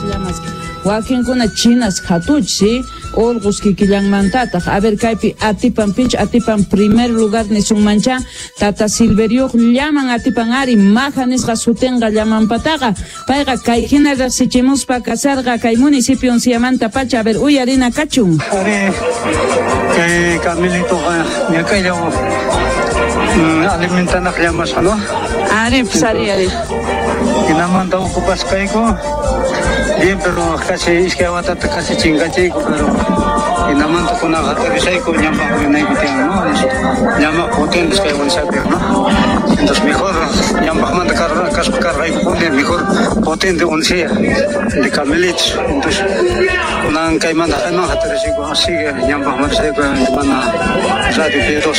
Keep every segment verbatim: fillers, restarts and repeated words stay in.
Llamas wakinkuna chinas hatuchi urqus kikillanmantataq. A ver, kaypi atipan pich atipan primer lugar nisunmancha tata Silverioq llaman atipan ari maja nisqa sutinqa llamanpataqa payqa kay hina riqsichimuspa kasarqa kay municipio Unciamanta pacha. A ver, uyarina kachun. Ari kay camelitoqa ñakaylla alimentanaq llamasqa, no? Ari, pues ari, ari. Hinamanta ocupasqayku bien, pero casi iskay watata casi chinkachiyku, pero hinamanta kunaqa aterrizayku ñampaq rinayku tiyan, no? Llama potentes kay Unciapi, no? Entonces mejor ñampaqmanta kaspa cargaykupuni mejor potente Uncia de camelitos. Entonces kunan kaymanta kayman aterrizayku, así que ñampaqmanta risayku mana Radio P dos.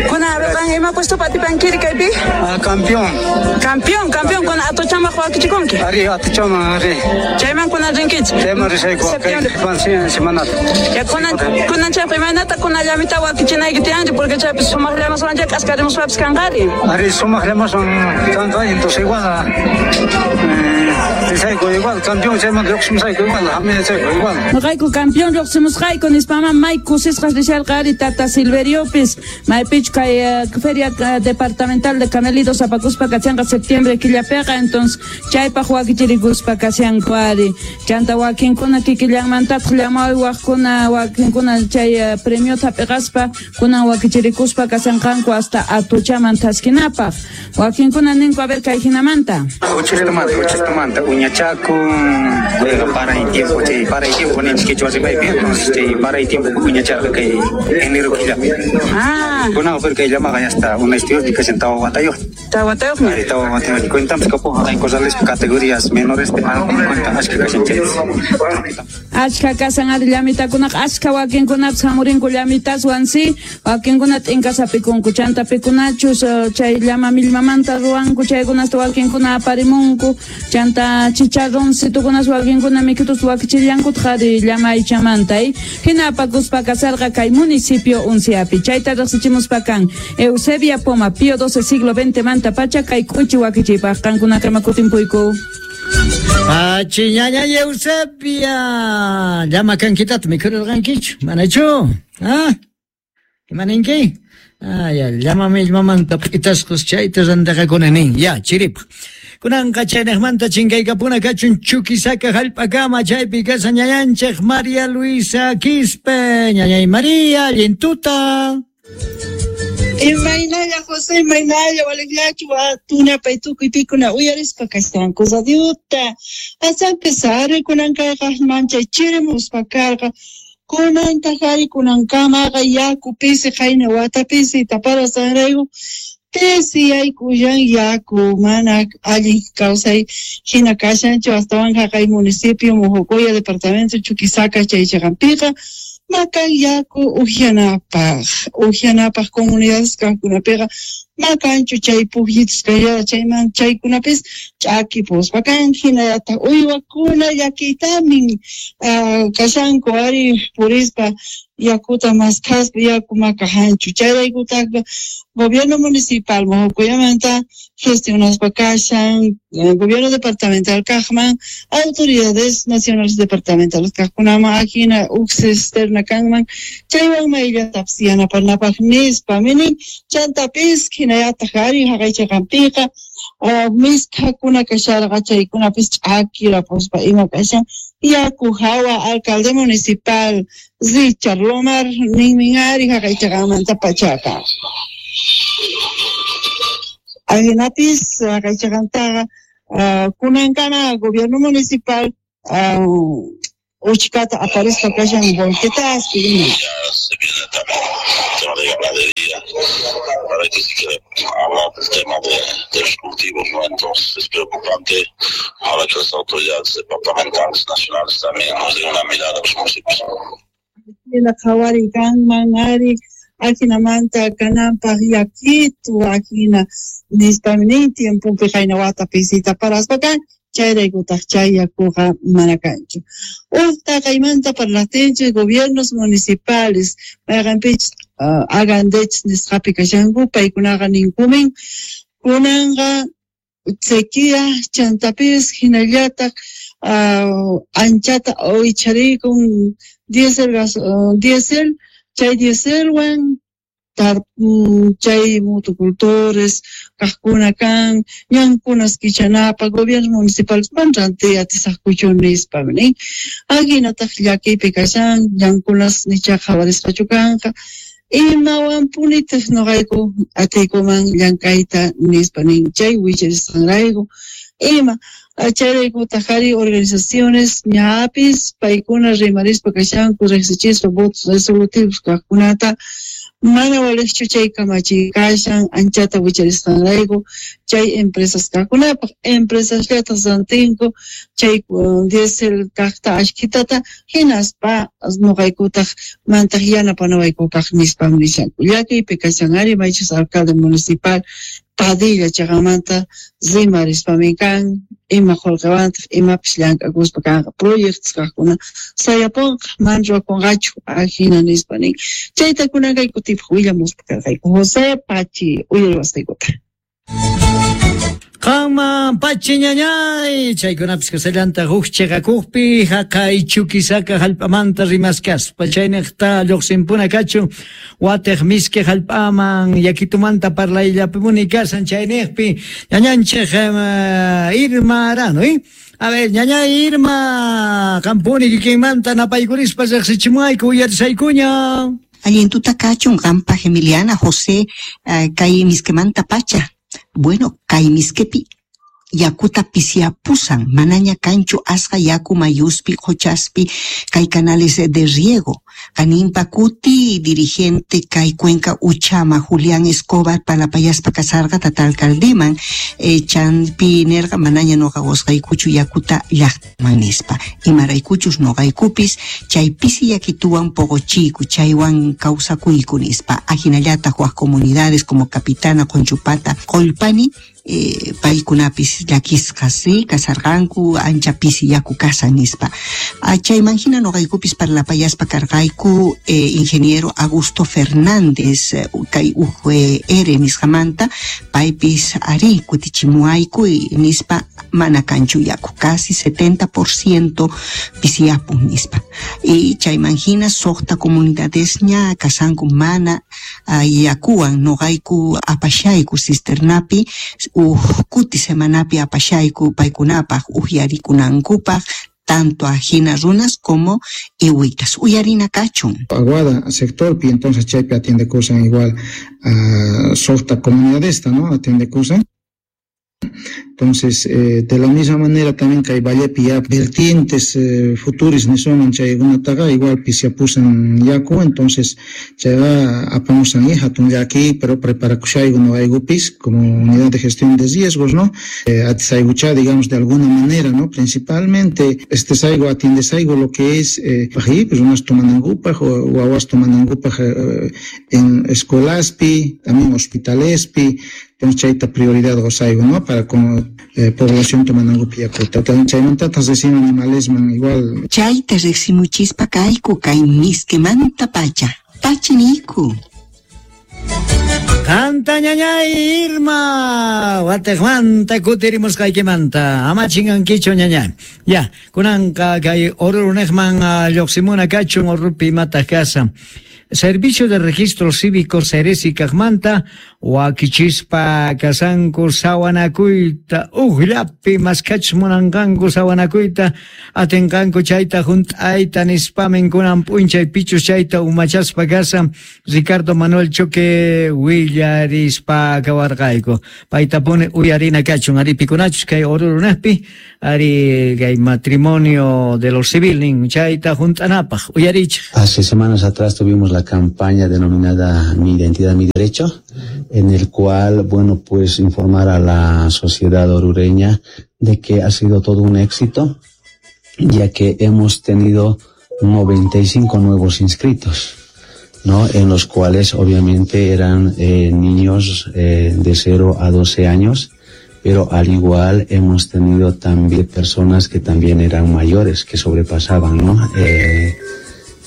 Kuna qan ima puesto atipankiri kaypi? Ah, campeón. Campeón, campeón, kuna atuchamaq wakichikunki? Ari, atuchaman, ari. Chayman kunan rinkichik? Chayman risayku, kay semanata. Ya kunan kunan chaypi imaynata kuna llamita wakichinayki tiyanri, porque chaypi sumaq llamaswan chay k'askarimuspapis kanqari. Ari, sumaq llamaswan kanqa, entonces igual eh, risayku igual, campeón chayman lluqsimusayku igual, hamiyachayku igual. Noqayku campeón lluqsimusqayku nispama may kusisqas risharqa ari tata Silveriopis maypichu kay feria departamental de camelidos apakuspa kachanqa septiembre killapiqa, entonces chaypaq wakichirikuspa kashanku ari. Chanta wakinkuna kikillanmantataq llamaywaqkuna wakinkuna chay premiota hap'iqaspa kunan wakichirikuspa kashanqanku hasta atuchaman thaskinapaq. Wakinkuna ninku a ver kay hinamanta. Uchistamanta, uchistamanta uñachakun, paray tiempo chay paray tiempo ninchik quechua rimaypi, entonces chay paray tiempo uñacharqa kay enero killapi. Ah. Kunan pero kay llamaqa ya está una historia kashan tawa watayuq. Tawa watayuqmi. Ari, tawa watayuq. Cuentamos kapuq hay corrales categorías menores de cuenta achka kashan chay. Achka kasan ari llamitakunaqa achka wakinkunapis hamurinku llamitaswan si wakinkuna t'inkasapikunku chanta pikunachus chay llama millmamanta ruwanku chaykunasta wakinkuna aparimunku chanta chicharroncitukunas wakinkuna mikitus wakichillankutaq ari llama aychamanta hina apakuspa kasarqa kay municipio Unciapi. Chayta riqsichimuspa kan Eusebia Poma Pío doce siglo veinte manta pacha kay k'uchi wakichiypaq qankunakama kutimpuyku. Pachi ñaña Eusebia, llama kankitata mikhurirqankichu, manachu? Ah, imaninki? Ah, ya, llama millmamanta p'itasqas chayta rantiqakuna nin, ya, chiripaq. Kunanqa chaynaqmanta chinkaykapuna kachun Chuquisaca hallp'akama chaypi kashan ñañanchik María Luisa Quispe, ñañay María, allin tuta. Imaynalla José, imaynalla waliqllachu tunapay tukuy pikuna uyarispa kashanku radiota. Asanpis ari kunan kayqa manchay chirimuspa karqa. Kunantaq ari kunankamaqa yaku pisi qayna wata pisi taparasqanrayku pisiyaykullan yaku mana allin kawsay hina kashanchu astawan haqay municipio Mojocoya departamento Chuquisaca chay chiqanpiqa makan yaku uhianapaq uhianapaq comunidades kaqkunapiqa makanchu chay pukyitus kallada chayman chaykunapis ch'akipuspa kan hinallataq uywakuna llakiytamin kashanku ari purispa yakuta maskhaspa yaku makahanchu chayraykutaqqa gobierno municipal Mojocoyamanta gestionaspa kashan gobierno departamental kaqman autoridades nacionales departamentales kaqkunaman ajina huk cisterna kanman chaywan mayllatapis yanapanapaq nispa minin chantapis hinallataq ari haqay chiqanpiqa misk'akuna kasharqa chaykunapis ch'akirapuspa ima kashan yaku hawa alcalde municipal Richard Lomar ninmin ari haqay chiqanmanta pachaqa. Ajinapis haqay chiqantaqa kunankama gobierno municipal uchkata aparispa kashan volquetaspi ima. Se viene también el tema de ganadería, para que se quiere hablar del tema de, de los cultivos, ¿no? Entonces es preocupante ahora que las autoridades departamentales, nacionales también nos den una mirada a los municipios. Hina qhawari kanman ari ajinamanta kananpaq yakitu ajina nispami nin tiempopi qayna wata pisita paraspa kan chayraykutaq chay yakuqa mana kanchu. Uqta kaymanta parlaqtinchik gobiernos municipales mayqanpichus agandech nisqapi kashanku paykunaqa ninkumin kunanqa sequía chantapis hinallataq uh, anchata wicharikun diésel gas uh, diésel chay dieselwan tar chay motocultores kaqkuna kan ñankunas kichanapaq gobierno municipal man rantiy atisaqkuchu nispa nin ahinataq llakiypi kashan ñankunas nicha qhawarisqachu kanqa imawanpunitaq nuqayku atiykuman llank'ayta nispa nin chay wicharisqanrayku ima chayraykutaq ari organizaciones ñapis paykuna rimarispa kashanku riqsichispa votos resolutivos kaqkunata mana waliqchu chay kamachiy kashan anchata wicharisqanrayku chay empresas kaqkunapaq empresasllataq rantinku chay diésel kaqta ashkitata hinaspa nuqaykutaq mantaq yanapanawaykupaq nispam nishanku llakiypi kashan ari maychus alcalde municipal Padilla chaqamanta rimarispamin kan ima qullqiwantaq imapis llank'akuspa kanqa proyectos kaqkuna sayapunqa mana ruwakunqachu ajina nispa nin chayta kunan kay kutipaq willamuspa karqayku José Pachi uyariwasqaykuta. Qanman Pachi ñañay chaykunapis kasallanta huk chiqakuqpi haqay Chuquisaca hallp'amanta rimaskaspa chayniqta lluqsinpuna kachun watiq miski hallp'aman yakitumanta parlayllapipuni kasan chayniqpi ñañanchik Irma Arano, ¿eh? A ver, ñañay Irma, qampuni kikinmanta napaykurispa riqsichimuayku uyarisaykuña. Allintuta kachun qanpaq Emiliana José uh, kay miskimanta pacha. Bueno, kay miskepi yakuta pisiapusan, manaña kanchu asqa yaku mayuspi, qochaspi, kay canales de riego. Kanimpa kuti dirigente kay Cuenca Uchama, Julián Escobar, palapayaspa kasarqa tata alcaldeman, eh, chanpi nerqa manaña noqa qusqaykuchu yakuta llaqtaman nispa. Imaraykuchus noqaykupis chay pisi yakituwan poqochiyku, chaywan kawsakuyku nispa. Ajinallataq wak comunidades como Capitana, Conchupata, Qollpani, Eh, paykunapis llakisqas sí kasarqanku ancha pisi yaku kasan nispa. Chayman hina noqaykupis parlapayaspa karqayku eh, ingeniero Augusto Fernández eh, kay U G R nisqamanta paypis ari kutichimuayku nispa mana kanchu yaku casi setenta por ciento pisiyapun nispa. Y chayman hina suqta comunidadesña kasanku mana uh, yakuwan noqayku apashayku cisternapi uj kuti semanapi apashayku paykunapaq uhyarikunankupaq tanto ajina runas como iwitas. Uyarina kachun. Aguada sectorpi entonces chaypi atiende kusan igual a suqta comunidadesta, ¿no? Atiende kusan. Entonces, eh, de la misma manera también que hay vallepi ya vertientes eh, futuris nisuman chaykunataqa igual pisiapusan yaku, entonces chayqa apamusan hatun llaki, pero preparakushayku noqaykupis como unidad de gestión de riesgos, ¿no? Eh, atisaykucha, digamos, de alguna manera, ¿no? Principalmente, este saigo atiendesayku lo que es, eh, pues unas tomanankupaq o wawas tomanankupaq eh, en escuelaspi, también hospitalespi, entonces chayta prioridad gozaigo, ¿no? Para con eh, población tomanangupi yakuta. Chaymantatas recién animalesman igual. Chayta riqsimuchispa kayku kay miskimanta pacha. Pachiniku. Qanta ñañay Irma, watiqmanta kutirimusqaykimanta, ama chinkankichu ñañay. Ya, kunanqa kay Orurunejman lluqsimuna kachun Orupi imataq kasan. Servicio de Registro Cívico Ceresi kaqmanta wakichispa kasanku sawanakuyta ujllapi maskachus munanqanku sawanakuyta atinqanku chayta hunt'ayta nispamin kunan p'unchay pichus chayta umachaspa kasan Ricardo Manuel Choque willarispa kawarqayku paytapuni uyarina kachun ari pikunachus kay Orurunejpi ari kay matrimonio de lo civil nin chayta hunt'anapaq uyarichik. Hace semanas atrás tuvimos la campaña denominada Mi Identidad, Mi Derecho, en el cual, bueno, pues informar a la sociedad orureña de que ha sido todo un éxito, ya que hemos tenido noventa y cinco nuevos inscritos, ¿no? En los cuales obviamente eran eh, niños eh, de cero a doce años, pero al igual hemos tenido también personas que también eran mayores, que sobrepasaban, ¿no? Eh,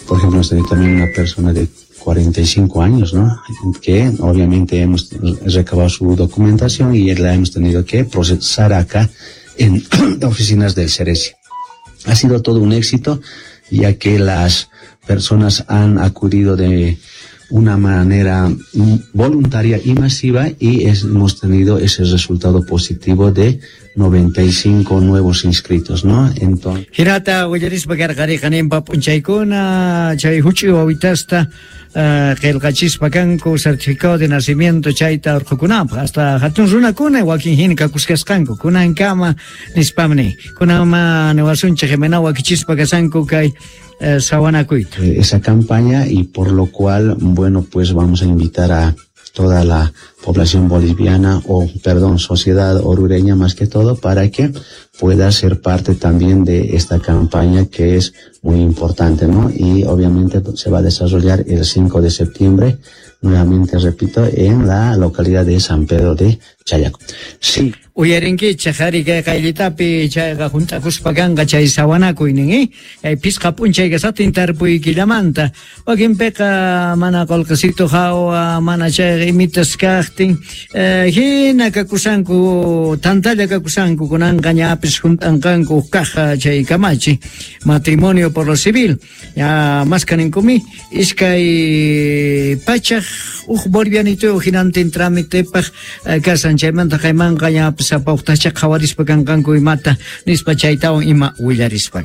por ejemplo, hemos tenido también una persona de cuarenta y cinco años, ¿no? Que obviamente hemos recabado su documentación y la hemos tenido que procesar acá en oficinas del Ceresia. Ha sido todo un éxito, ya que las personas han acudido de una manera voluntaria y masiva y hemos tenido ese resultado positivo de noventa y cinco nuevos inscritos, ¿no? Entonces... Hinata willarispa karqariqa ninpa p'unchaykuna chay huch'uy wawitasta qillqachispa kanku certificado de nacimiento chayta urqukunapaq hasta hatun runakuna wakin hina kakuskasqanku kunankama nispamni kunanma niwasunchik imana wakichispa kasanku kay sawanakuyta. Esa campaña, y por lo cual, bueno, pues vamos a invitar a toda la población boliviana, o perdón, sociedad orureña más que todo, para que pueda ser parte también de esta campaña que es muy importante, ¿no? Y obviamente se va a desarrollar el cinco de septiembre, nuevamente repito, en la localidad de San Pedro de Chayaco. Sí. Uyarinkichik ari kay qayllitapi chayqa hunt'akuspa kanqa chay sawanakuynin, eh? Kay pisqa p'unchay kasatin tarpuy killamanta. Wakinpiqa mana qullqisito hawa, mana chayqa imitas kaqtin, eh, hina kakusanku, tantalla kakusanku, kunanqa ñapis hunt'anqanku huk kaq chay kamachi, matrimonio por lo civil. Ya maskaninkumi iskay pachaq huk bolivianito hinantin tramitepaq kasan chaymanta qaymanqa ñapis sapa uqtacha qhawarispa kanqanku imata nispa chaytawan ima willarispa.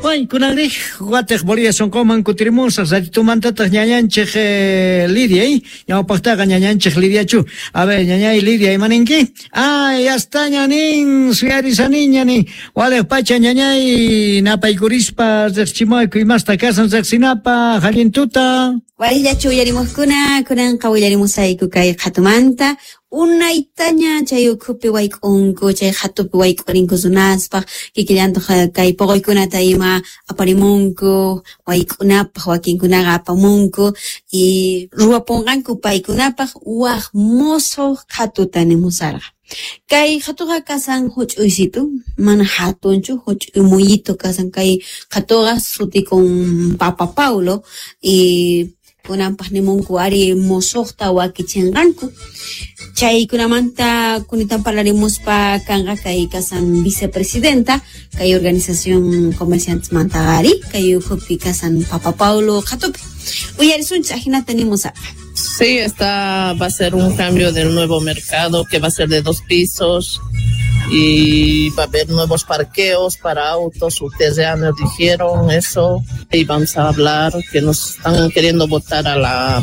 Bueno, kunanriq watiq Bolivia sunquman kutirimusaq ratitumantataq ñañanchik eh, Lidia, eh? Ñawpaqtaqa ñañanchik Lidiachu. A ver, ñañay Lidia, imaninki? Ay, hasta ñanin, suyarisaniña nin. Waliq pacha ñañay napaykurispa riqchimayku imasta kasan riqsinapa hallintuta. Warillachu uyarimuqkuna, kunanqa willarimusayku kay qhatumanta. Unaytaña chay ukhupi wayk'unku, chay qhatupi wayk'urinku runaspaq, kikillantaq kay puquykunata ima aparimunku, wayk'unapaq wakinkunaqa apamunku, y ruwapunqanku paykunapaq waq musuq qhatuta nimusarqa. Kay qhatuqa kasan huch'uysitu, mana hatunchu, huch'uy muyito kasan kay qhatuqa sutikun Papa Paulo, y kunanpaq nimunku ari musuqta wakichinqanku. Chaykunamanta kunitan parlarimuspa kanqa kay kasan vicepresidenta kay organización comerciantes mantagari kay ukhupi kasan Papa Paulo qhatupi. Uyarisunchik ajinata nimusarqa. Sí, esta va a ser un cambio del nuevo mercado que va a ser de dos pisos y va a haber nuevos parqueos para autos, ustedes ya nos dijeron eso y vamos a hablar que nos están queriendo botar a la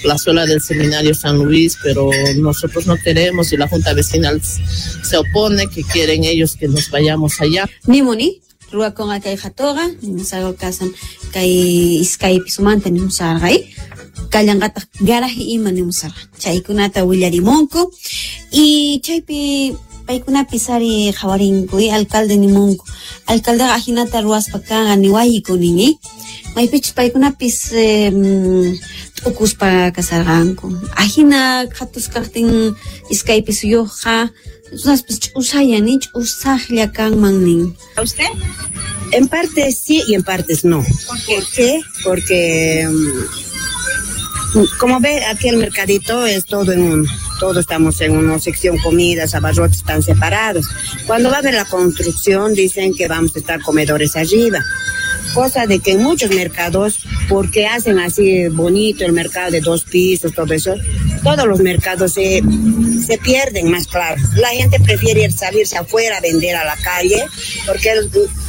plazuela del Seminario San Luis, pero nosotros no queremos y la Junta Vecinal se opone, que quieren ellos que nos vayamos allá. Nimuni, ruwakunqa kay qhatuqa, nimusarqa kasan kay iskay pisumanta nimusarqa, eh? Kallanqataq garaje ima nimusarqa. Chaykunata willarimunku y chaypi paykunapis ari qhawarinku, eh? Alcalde nimunku. Alcaldeqa ajinata ruwaspa kanqa niwayku nin, eh? Maypichus paykunapis eh, t'ukuspa kasarqanku. Ajina qhatus kaqtin iskay pisuyuqqa runaspis ch'usayan, eh? Ch'usaqlla kanman nin. ¿A usted? En parte sí y en partes no. ¿Por qué? Porque como ve, aquí el mercadito es todo en uno. Todos estamos en una sección comidas, abarrotes están separados. Cuando va a haber la construcción, dicen que vamos a estar comedores arriba. Cosa de que en muchos mercados, porque hacen así bonito el mercado de dos pisos, todo eso, todos los mercados se, se pierden más claro. La gente prefiere ir, salirse afuera a vender a la calle, porque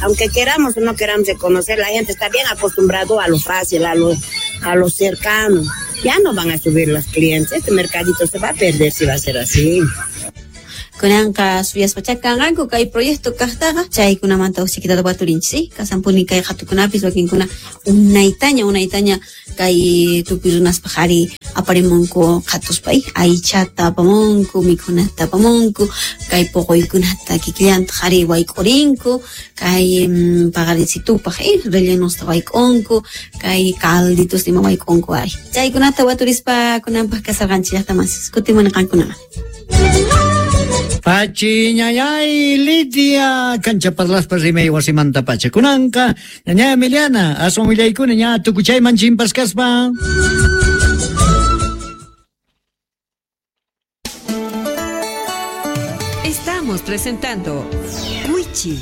aunque queramos o no queramos reconocer, la gente está bien acostumbrado a lo fácil, a lo, a lo cercano. Ya no van a subir los clientes, este mercadito se va a perder si va a ser así. Kunanqa suyaspa chakanqanku kay proyecto kaqtaqa chaykunamanta usikitata waturinchik, kasanpuni kay qhatukunapis wakinkuna unaytaña unaytaña kay tukuy runaspaq ari aparimunku qhatuspa, aychata apamunku, mikhunata apamunku, kay puquykunata kikillantaq ari wayk'urinku, kay paqarinsitupaq eh, rellenusta wayk'unku, kay calditos ima wayk'unku ari. Chaykunata waturispa kunanpaq kasarqanchik llaqta masis, kutimuni qankunaman. Pachi ñañay Lidia cancha parlaspa rimay wasimanta pacha kunanqa ñañay Emiliana aswan willaykuna ña tukuchayman chimpaskaspa. Estamos presentando Wichi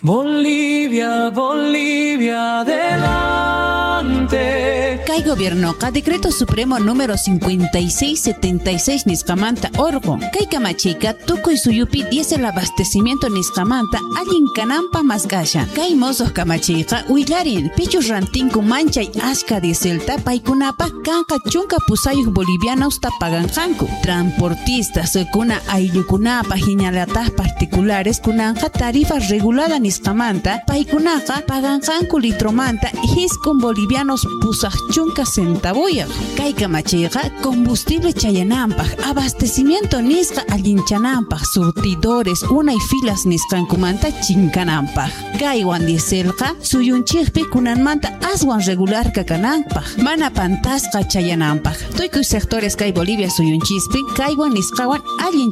Bolivia, Bolivia, adelante. Kay gobiernoqa Decreto Supremo número cincuenta y seis setenta y seis nisqamanta orqun. Kay kamachiyqa tukuy suyupi diésel abastecimiento nisqamanta allin kananpaq mask'ashan. Kay mosuq kamachiyqa willarin pichus rantinku manchay ashka dieselta paykunapaq kanqa chunka pusayuq bolivianosta paganqanku. Transportistas kuna ayllukunapaq hinallataq particulares kunanqa tarifa regulada nisqamanta paykunaqa paganqanku litromanta hiskun bolivianos pusaq chunka centavuyaq. Kay kamachiyqa combustible chayananpaq, abastecimiento nisqa allinchananpaq, surtidores unay filas nisqankumanta chinkananpaq. Kaywan dieselqa suyunchikpi kunanmanta aswan regular kakananpaq, mana pantasqa chayananpaq. Tukuy sectores kay Bolivia suyunchispi kaywan nisqawan allin